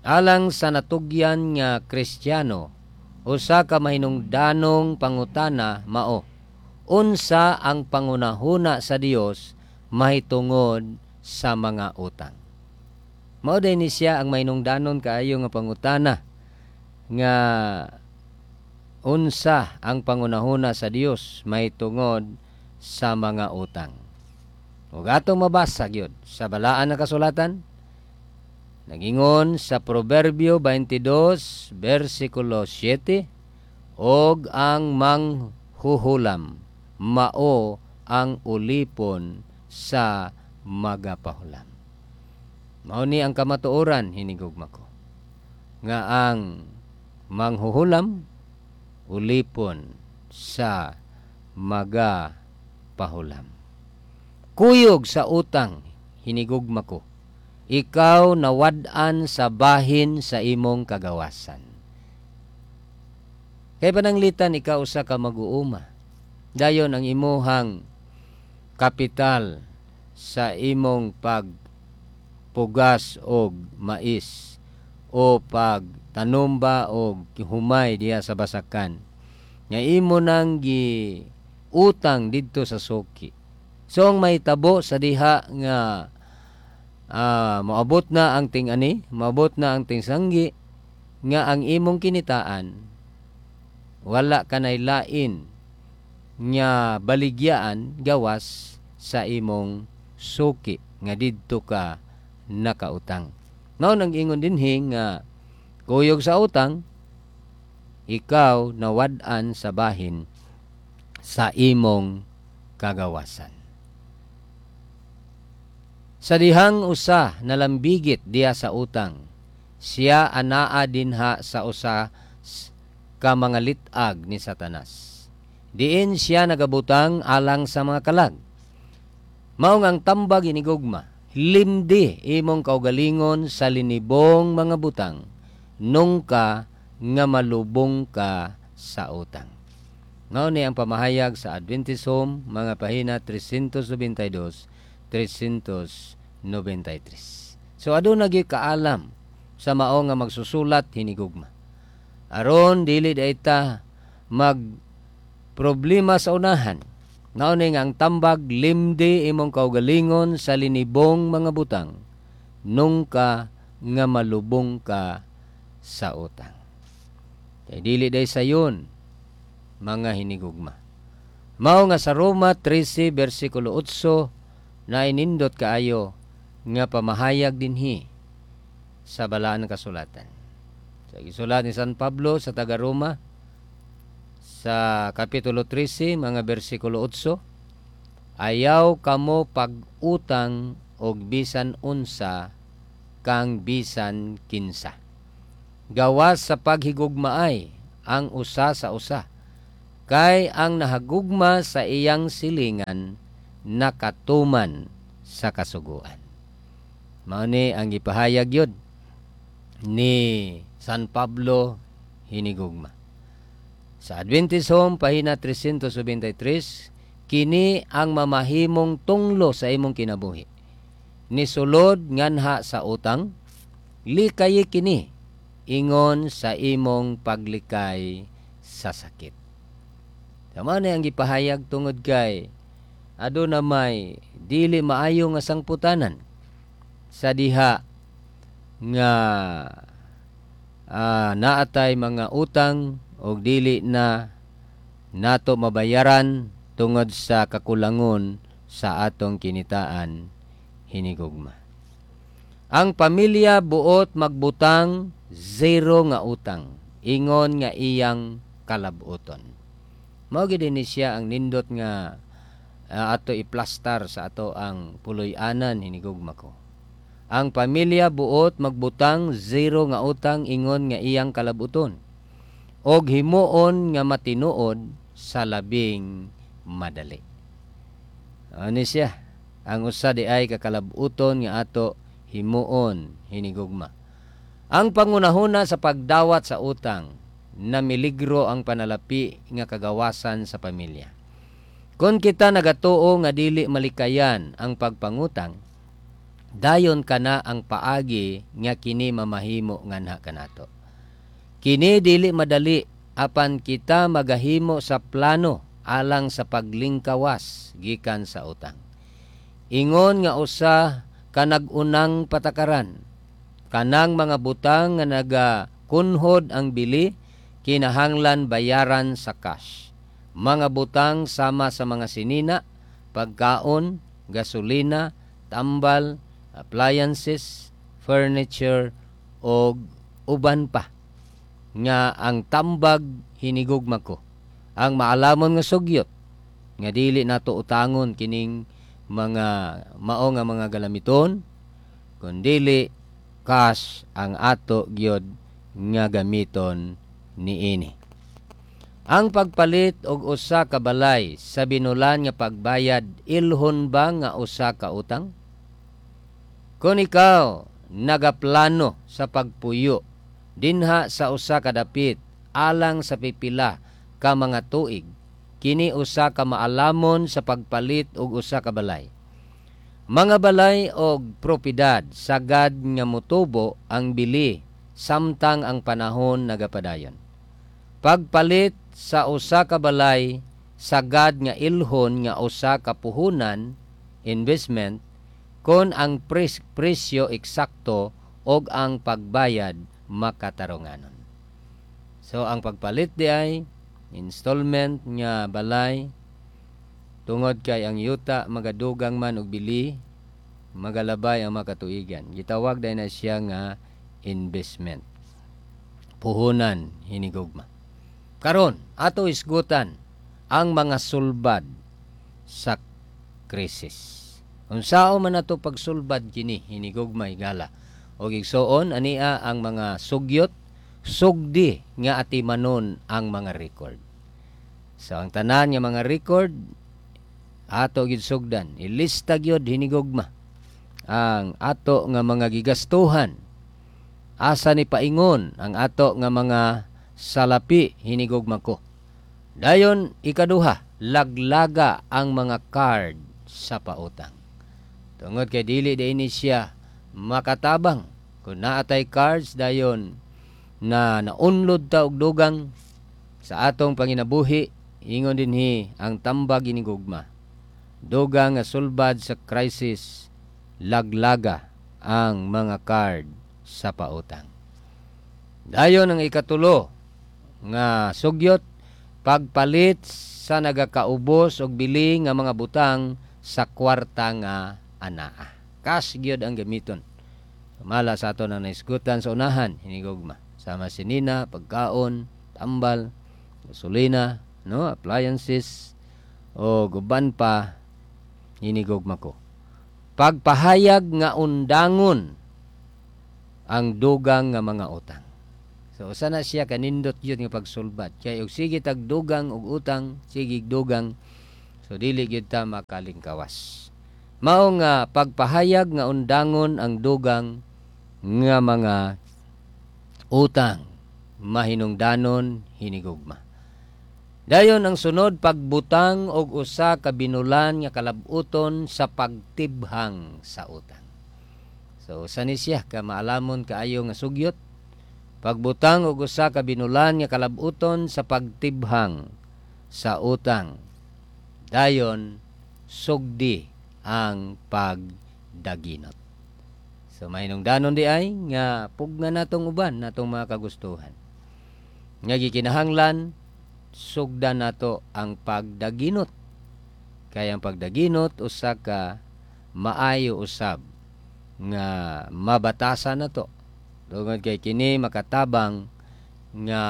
Alang sa natugyan nga Kristiyano, usa ka mahinungdanong pangutana mao, unsa ang pangunahuna sa Dios mahitungod sa mga utang? Mao diay ni siya ang mahinungdanon kaayo nga pangutana nga unsa ang pangunahuna sa Dios mahitungod sa mga utang. Ug atong mabasa gyud sa balaan nga kasulatan, nagingon sa Proverbio 22 versikulo 7, "Og ang manghuhulam mao ang ulipon sa magapahulam." Mao ni ang kamatuoran, hinigugma ko, nga ang manghuhulam ulipon sa magapahulam. Kuyog sa utang, hinigugma ko, ikaw nawad-an sa bahin sa imong kagawasan. Kay pananglitan ikaw usa ka mag-uuma. Dayon ang imuhang kapital sa imong pagpugas og mais o pagtanomba og humay diha sa basakan nga imo nang gi utang didto sa suki. So ang mahitabo sa diha nga moabot na ang ting-ani, moabot na ang tingsanggi, nga ang imong kinitaan wala kanay lain nga baligyaan gawas sa imong suki nga didto ka nakautang. Mao nang ingon dinhi nga kuyog sa utang, ikaw nawad-an sa bahin sa imong kagawasan. Sa dihang usa nalambigit diha sa utang, siya anaa dinha sa usa ka mga lit-ag ni Satanas, diin siya nagabutang alang sa mga kalag. Mao nga ang tambag, hinigugma, limdi imong kaugalingon sa linibong mga butang nungka nga malubong ka sa utang. Mao ni ang pamahayag sa Adventist Home, mga pahina 392, 393. So aduna gyud kaalam sa mao nga magsusulat, hinigugma. Aron dili ta mag problema sa unahan. Mao ni nga ang tambag, limdi imong kaugalingon sa linibong mga butang nungka nga malubong ka sa utang. Kay dili day sayon, mga hinigugma. Mao nga sa Roma 13 versikulo 8 na inindot kaayo nga pamahayag dinhi sa balaan ng kasulatan. Sa gisulat ni San Pablo sa taga Roma sa kapitulo 13 mga bersikulo 8, "Ayaw kamo pag-utang og bisan unsa kang bisan kinsa, gawas sa paghigugmaay ang usa sa usa, kay ang nahagugma sa iyang silingan nakatuman sa kasuguan." Mao ni ang gipahayag yun ni San Pablo, hinigugma. Sa Adventist Home, pahina 373, kini ang mamahimong tunglo sa imong kinabuhi. Nisulod nganha sa utang, likayi kini ingon sa imong paglikay sa sakit. Tama na ang gipahayag tungod kay aduna may dili maayo nga sangputanan sa diha nga naatay mga utang og dili na nato mabayaran tungod sa kakulangon sa atong kinitaan, hinigugma. Ang pamilya buot magbutang zero nga utang ingon nga iyang kalabuton. Mao gid ni siya ang nindot nga ato iplastar sa ato ang puloy-anan, hinigugma ko. Ang pamilya buot magbutang zero nga utang ingon nga iyang kalabuton og himuon nga matinuod sa labing madali. Ano siya? Ang usa di ay kakalabuton nga ato himuon, hinigugma. Ang pangunahuna sa pagdawat sa utang na miligro ang panalapi nga kagawasan sa pamilya. Kung kita nagatuo nga dili malikayan ang pagpangutang, Dayon kana ang paagi nga kini mamahimo nganha kanato. Kini dili madali, apan kita magahimo sa plano alang sa paglingkawas gikan sa utang. Ingon nga usa ka nag-unang patakaran, kanang mga butang nga nagakunhod ang bili kinahanglan bayaran sa cash. Mga butang sama sa mga sinina, pagkaon, gasolina, tambal, appliances, furniture og uban pa nga ang tambag, hinigugma ko. Ang maalamon nga sugyot nga dili nato utangon kining mga mao nga mga galamiton, kun dili cash ang ato gyud nga gamiton niini. Ang pagpalit og usa ka balay sa binulan nga pagbayad, ilhon ba nga usa ka utang? Kung ikaw nagaplano sa pagpuyo dinha sa usa ka dapit alang sa pipila ka mga tuig, kini usa ka maalamon sa pagpalit og usa ka balay. Mga balay og propiedad sagad nga motubo ang bili samtang ang panahon nagapadayon. Pagpalit sa usa ka balay sagad nga ilhon nga usa ka puhunan, investment, kon ang presyo eksakto og ang pagbayad makatarunganon. So ang pagpalit di ay installment nga balay, tungod kay ang yuta magadugang man og bili, magalabay ang makatuigan. Gitawag dai na siya nga investment. Puhunan, hinigugma. Karon, ato isgutan ang mga sulbad sa krisis. Unsao man ato pagsulbad kini, hinigugma, higala og igsoon? Ania ang mga sugyot: sugdi nga atimanon ang mga record. So ang tanan nga mga record ato gid sugdan, ilista gyud, hinigugma, ang ato nga mga gigastuhan, asa ni paingon ang ato nga mga salapi, hinigugma ko. Dayon ikaduha, laglaga ang mga card sa pautang. Tungod kay dili ini siya makatabang kung naatay cards, dayon na naunlod ta og dugang sa atong panginabuhi. Ingon dinhi ang tambag, hinigugma, dugang nga sulbad sa crisis: laglaga ang mga card sa pautang. Dayon ang ikatulo nga sugyot, pagpalit sa nagakaubos og bili nga mga butang sa kwarta nga anaa. Cash gyud ang gamiton. Mala sa ato na naisgutan sa unahan, hinigugma. Sama sinina, pagkaon, tambal, gasolina, no, appliances o guban pa, hinigugma ko. Pagpahayag nga undangon ang dugang nga mga utang. So usa na siya kanindot gyud nga pagsulbad. Kay og sige tag dugang og utang, sige dugang, so dili gyud ta makalingkawas. Mao nga pagpahayag nga undangon ang dugang nga mga utang mahinungdanon, hinigugma. Dayon ang sunod, pagbutang og usa ka binulan nga kalabuton sa pagtibhang sa utang. So usa ni siya ka maalamon kaayo nga sugyot. Pagbutang og usa ka binulan nga kalabuton sa pagtibhang sa utang. Dayon sugdi ang pagdaginot. So mahinungdanon di ay nga pugna natong uban natong mga kagustuhan. Nga gikinahanglan sugdan nato ang pagdaginot. Kay ang pagdaginot usa ka maayo usab nga mabatasan nato. Tungod kay kini makatabang nga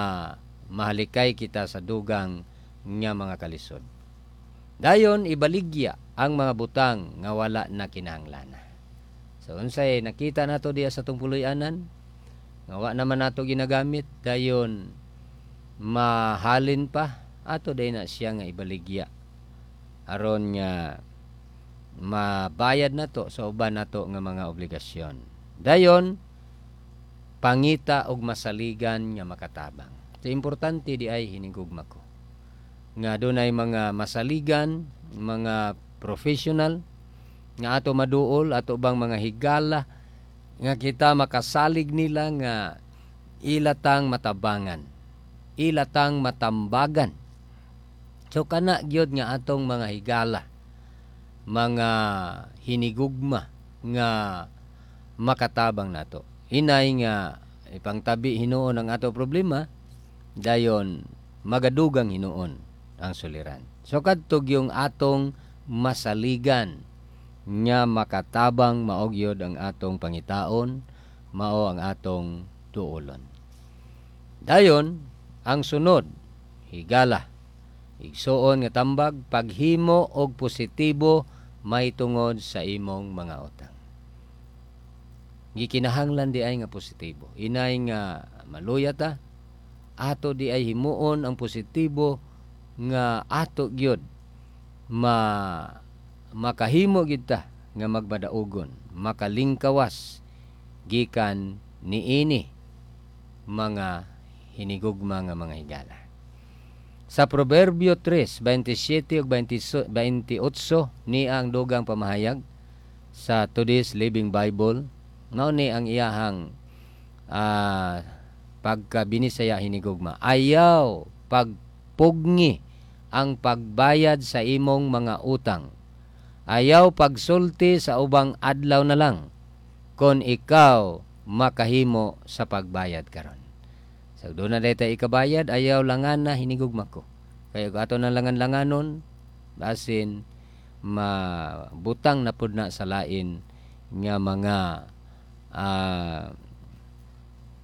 mahalikay kita sa dugang nga mga kalisod. Dayon ibaligya ang mga butang nga wala na kinahanglan. So unsay nakita nato diya sa atong puloy-anan nga wa naman nato ginagamit, dayon mahalin pa, ato day na siya nga ibaligya aron nga mabayad nato sa uban nato nga mga obligasyon. Dayon pangita og masaligan nga makatabang. So importante di ay, hinigugma ko, nga dunay mga masaligan, mga professional Nga ato maduol ato bang mga higala nga kita makasalig nila nga ilatang matabangan, ilatang matambagan. So kana gyud nga atong mga higala, mga hinigugma nga makatabang nato. Hinay nga ipangtabi hinuon ang ato problema, dayon magadugang hinuon ang suliran. So kadto yung atong masaligan nga makatabang, mao gyud ang atong pangitaon, mao ang atong duolon. Dayon ang sunod higala, igsuon nga tambag, paghimo og positibo mahitungod sa imong mga utang. Gikinahanglan di ay nga positibo. Inay nga maluya ta, ato di ay himuon ang positibo nga ato gyud makahimo gyud ta nga magmadaugon, makalingkawas gikan niini mga hinigugma nga mga higala. Sa Proverbio 3:27 ug 28 ni ang dugang pamahayag sa Today's Living Bible, mao ni ang iyahang pagkabinisaya, hinigugma. Ayaw pagpugngi ang pagbayad sa imong mga utang. Ayaw pagsulti sa ubang adlaw na lang kon ikaw makahimo sa pagbayad karon. So doon na dayta ikabayad, ayaw langan na, hinigugma ko. Kaya ato na langan-langanon, basin mabutang na pud na sa lain nga mga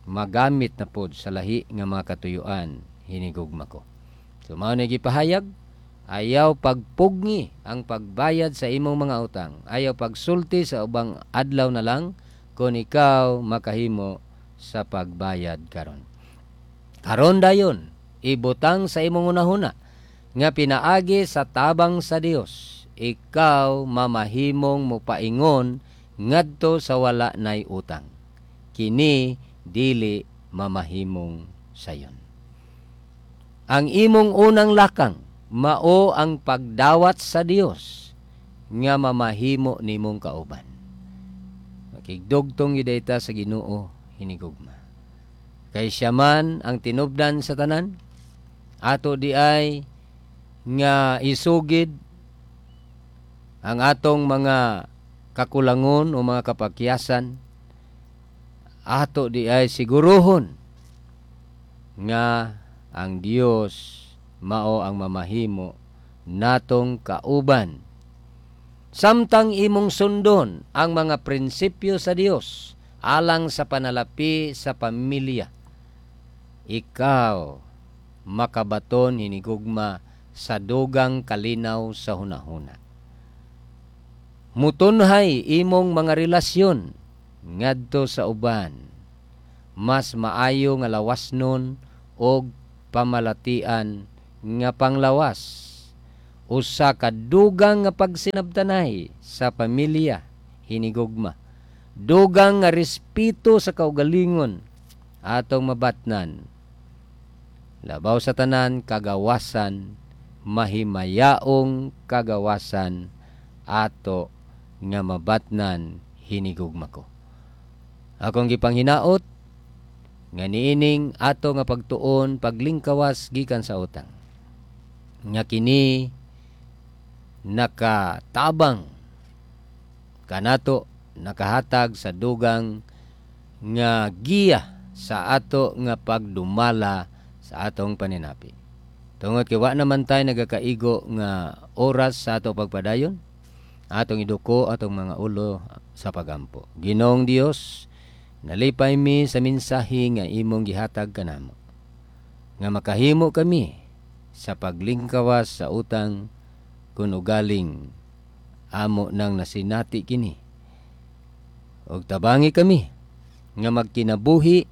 magamit na pod sa lahi nga mga katuyuan, hinigugma ko. So mao ni gipahayag, ayaw pagpugngi ang pagbayad sa imong mga utang. Ayaw pagsulti sa ubang adlaw na lang kung ikaw makahimo sa pagbayad karon. Karon dayon, ibutang sa imong hunahuna nga pinaagi sa tabang sa Dios, ikaw mamahimong mopaingon ngadto sa wala nay utang. Kini dili mamahimong sayon. Ang imong unang lakang mao ang pagdawat sa Dios nga mamahimo nimong kauban. Makigdugtong gyud ta sa Ginoo, hinigugma. Kay siya man ang tinubdan sa tanan, ato di ay nga isugid ang atong mga kakulangon o mga kapakyasan, ato di ay siguruhon nga ang Dios mao ang mamahimo natong kauban. Samtang imong sundon ang mga prinsipyo sa Dios alang sa panalapi sa pamilya, ikaw makabaton, hinigugma, sa dugang kalinaw sa hunahuna. Mutunhay imong mga relasyon ngadto sa uban. Mas maayo nga lawas nun og pamalatian nga panglawas. Usa ka dugang nga pagsinabtanay sa pamilya, hinigugma. Dugang nga respeto sa kaugalingon atong mabatnan. Labaw sa tanan, kagawasan, mahimayaong kagawasan ato nga mabatnan, hinigugma ko. Akong gipanghinaot nga niining ato nga pagtuon paglingkawas gikan sa utang, nga kini nakatabang kanato, nakahatag sa dugang nga giya sa ato nga pagdumala sa atong paninapi. Tungod kay wa naman tay nagakaigo nga oras sa ato pagpadayon, atong iduko atong mga ulo sa pagampo. Ginoong Dios, nalipay mi sa mensahe nga imong gihatag kanamo, nga makahimo kami sa paglingkawas sa utang kun ugaling amo nang nasinati kini. Og tabangi kami nga magkinabuhi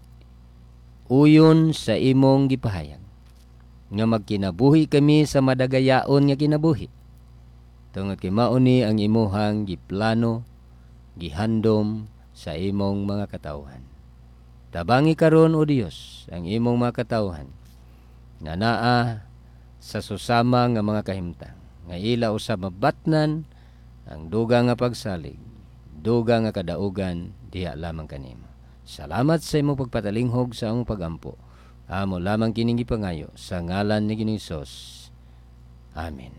uyon sa imong gipahayag, nga magkinabuhi kami sa madagayaon nga kinabuhi. Tungod kay mao ni ang imuhang giplano, gihandom sa imong mga katawhan. Tabangi karon, O Dios, ang imong mga katawhan nga naa sa susama nga mga kahimtang, nga ila usab mabatnan Ang dugang nga pagsalig, dugang nga kadaugan diha lamang kanimo. Salamat sa imong pagpatalinghog sa among pagampo. Amo lamang kining gipangayo sa ngalan ni Ginoong Hesus. Amen.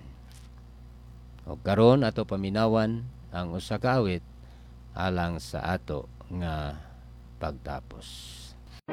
O karon, ato paminawan ang usa ka awit alang sa ato nga pagtapos.